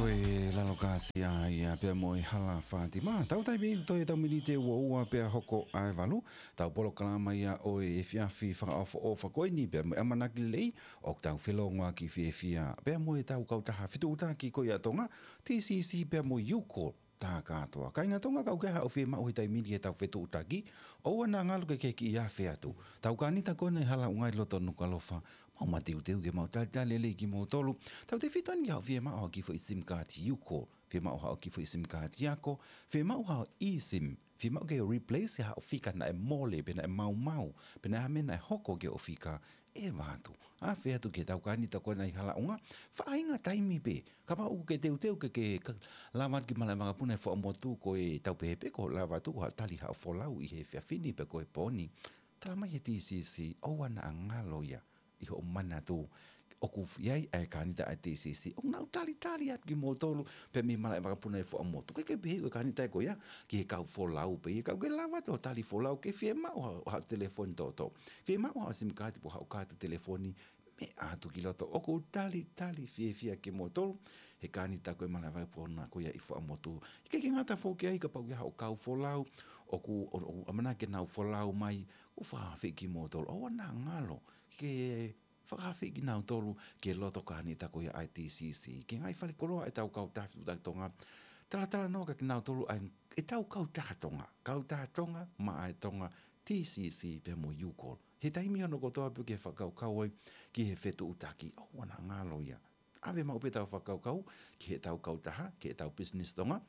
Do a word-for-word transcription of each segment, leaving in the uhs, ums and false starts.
Ko e lalo kāsia ia pea mo e hala Fātima. Tau taimi ʻi he toe tau miniti ʻe ua ua pea hoko ʻa e valu. Tau polokalama ia ʻo e efiafi fakaʻofoʻofa ko eni pea mo e ʻamanaki lelei ʻoku tau felōngoaki fiefia pea mo e tau kautaha fetuʻutaki ko ia ʻa Tonga, T C C pea mo e U-Call. Tā kātoa. Kāinga Tonga, kapau ʻoku ʻi ai haʻo fiemaʻu he taimi ni ki he tau fetuʻutaki, ʻoua naʻa ngalo ke ke kiʻi afe atu. Tau kānita ko ena ʻi Halaʻunga ʻi loto Nukuʻalofa, mau mateuteu ke mau talitali lelei kimoutolu. Tautefito eni ki haʻo fiemaʻu haʻo kiʻi foʻi SIM card U-Call, fiemaʻu haʻo kiʻi foʻi SIM card ako, fiemaʻu haʻo eSIM, fiemaʻu ke replace haʻo fika naʻe mole, pe naʻe maumau, pe naʻe hā e meʻa naʻe hoko ki hoʻo fika, ʻeva atu. Afe atu ki he tau kānita ko ena ʻi Halaʻunga, faʻahinga taimi pē. Kapau ʻoku ke teuteu ke ke ka-, lava atu ki malaʻe vakapuna ʻi Fuaʻamotu, ko e tau pehē pē ko e lava atu ko haʻo tali haʻo folau ʻi he efiafi ni pe ko e pō ni. Tala mai ʻe he T C C, ʻoua naʻa ngalo ia ʻi hoʻo manatu ʻoku ʻi ai ʻa e kānita ʻa e T C C ʻoku nau talitali atu kimoutolu pē mei malaʻe vakapuna ʻi Fuaʻamotu. Ke ke pehē ko e kānita ko ia ki he kau folau pē, ʻi he kau ke lava atu ʻo tali folau, ke fiemaʻu haʻo, haʻo telefoni toʻotoʻo. Fiemaʻu haʻo SIM card pe ko haʻo kaati telefoni, meʻa atu ki loto. ʻOku talitali fiefia kimoutolu he kānita ko ē malaʻe vakapuna ko ia ʻi Fuaʻamotu. ʻIkai ke ngata foki ai, kapau ʻoku ʻi ai haʻo kau folau ʻoku, ʻo, ʻoku ʻamanaki ke nau folau mai, ʻoku fakaafeʻi kimoutolu. ʻOua naʻa ngalo ke fakaafeʻi kinautolu ki he loto kānita ko ia ʻa e T C C. Ki he ngaahi falekoloa ʻa e tau kautaha fetuʻutaki Tonga, talatalanoa kia kinautolu ʻa e, ʻa e tau kautaha Tonga, kautaha Tonga maʻa e Tonga, T C C pea mo e U-Call. He taimi hono kotoa pē ʻoku ke fakakaukau ai ki he fetuʻutaki, ʻoua naʻa ngalo ia. ʻAve maʻu pē ʻetau fakakaukau ki he tau kautaha, ki he tau business Tonga,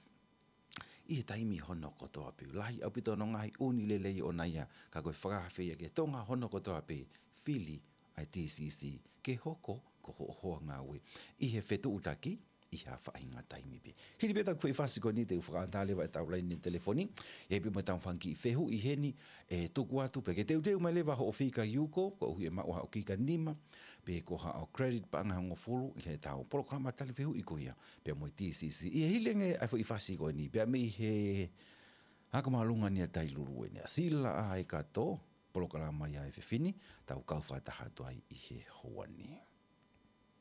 ʻi he taimi hono kotoa pē. Lahi ʻaupito hono ngaahi ʻū lelei ʻona ia, ka ko e fakaafeʻi ia ki he Tonga hono kotoa pē, fili ʻa e T C C ke hoko ko hoʻo hoa ngāue ʻi he fetuʻutaki ʻi ha faʻahinga taimi pē. Hili pē ʻetau foʻi fasi ko eni te u fakaʻatā leva ʻetau laine telefoni, ʻi ai pē mo ʻetau fanga kiʻi fehuʻi heni, ʻe tuku atu pē ke teuteu mai leva hoʻo fika U-Call, koeʻuhi ʻe maʻu haʻo kika nima, pe ko haʻo credit paʻanga ʻe hongofulu ʻi heʻetau polokalama tali fehuʻi ko ia pea mo e T C C. ʻI he hili ange ʻa e foʻi fasi ko eni, pea mei he Ako Māʻolunga ni ʻa Tailulu eni, ʻa Sila ʻa e kato, polokalama ia ʻa e efiafi ni, tau kau fakataha atu ai ʻi he houa ni.